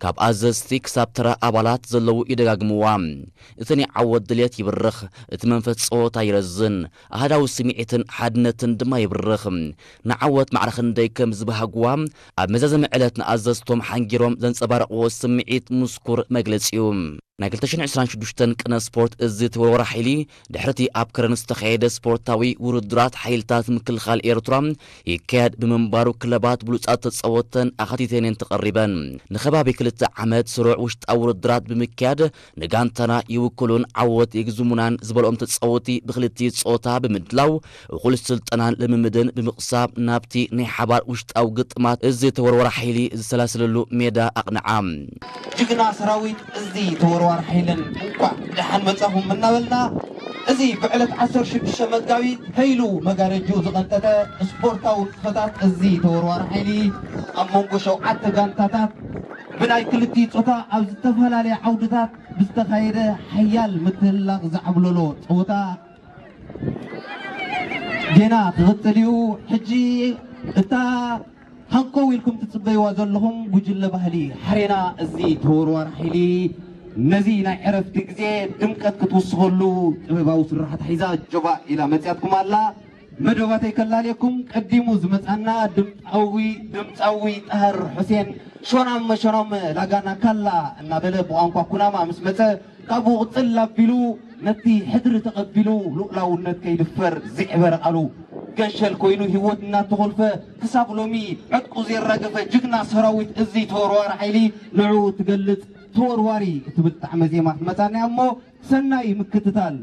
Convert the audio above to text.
ካብ ኣዘዝቲ ክሳብ ተራ ኣባላት ዘለዉ ይደጋግምዋ። እቲ ናይ ዓወት ድልየት ይብርኽ፣ እቲ መንፈስ ጸወታ ይረዝን፣ ኣህዳዊ ስምዒትን ሓድነትን ድማ ይብርኽ። ንዓወት ማዕረ ክንደይ ከም ዝበሃግዋ ኣብ መዛዘሚ ዕለት ንኣዘዝቶም ሓንጊሮም ዘንጸባረቕዎ ስምዒት ምስኩር መግለጺ እዩ። ናይ ክልተ ሽሕን ዕስራን ሽዱሽተን ቅነ ስፖርት እዚ ተወርዋሪ ሓይሊ ድሕርቲ ኣብ ከረን ዝተኻየደ ስፖርታዊ ውድድራት ሓይልታት ምክልኻል ኤርትራ ይካየድ ብምንባሩ ክለባት ብሉጻት ተጻወተን ኣኻቲተን እየን ተቐሪበን። ንኸባቢ ክልተ ዓመት ስሩዕ ውሽጣዊ ውድድራት ብምክያድ ንጋንታና ይውክሉን ዓወት የግዝሙናን ዝበልኦም ተጻወቲ ብክልቲ ጾታ ብምድላው እኹል ስልጠናን ልምምድን ብምቕሳብ ናብቲ ናይ ሓባር ውሽጣዊ ግጥማት እዚ ተወርዋሪ ሓይሊ ዝሰላሰለሉ ሜዳ ኣቕንዓ። ጅግና ሰራዊት እዚ ተወርዋሪ ሓይልን እንኳዕ ደሓን መጻኹም እናበልና፣ እዚ ብዕለት ዓሰርተ ሽዱሽተ መጋቢት ሀይሉ መጋረጅኡ ዝቐንጠጠ ስፖርታዊ ንጥፈታት እዚ ተወርዋሪ ሓይሊ ኣብ መንጎ ሸውዓተ ጋንታታት ብናይ ክልቲኡ ጾታ ኣብ ዝተፈላለየ ዓውድታት ብዝተኻየደ ሓያል ምትህልላኽ ዘዓብለሎ ጸወታ ጌና ክቕጽል እዩ። ሕጂ እታ ሃንኮው ኢልኩም ትጽበይዋ ዘለኹም ጉጅለ ባህሊ ሓሬና እዚ ተወርዋሪ ሓይሊ ነዚ ናይ ዕረፍቲ ግዜ ድምቀት ክትውስኸሉ ጥበባዊ ስራሓት ሒዛ ጆባ ኢላ መጽያትኩም ኣላ። መደባተይ ከላልየኩም ቀዲሙ ዝመጻና ድምጻዊ ድምጻዊ ጣህር ሑሴን ሾናም ሾናም ላጋና ካላ እናበለ ብቋንቋ ኩናማ ምስ መጸ ካብኡ ቅጽል ኣቢሉ ነቲ ሕድሪ ተቐቢሉ ልኡላውነት ከይድፈር ዝዕበረ ቃሉ ገንሸል ኮይኑ ህይወት እናተኾልፈ ክሳብ ሎሚ ዕጥቁ ዘየራገፈ ጅግና ሰራዊት እዚ ተወርዋሪ ሓይሊ ንዕኡ ትገልጽ ተወርዋሪ እትብል ጣዕመ ዜማ ክትመጻና እያ እሞ ሰናይ ምክትታል።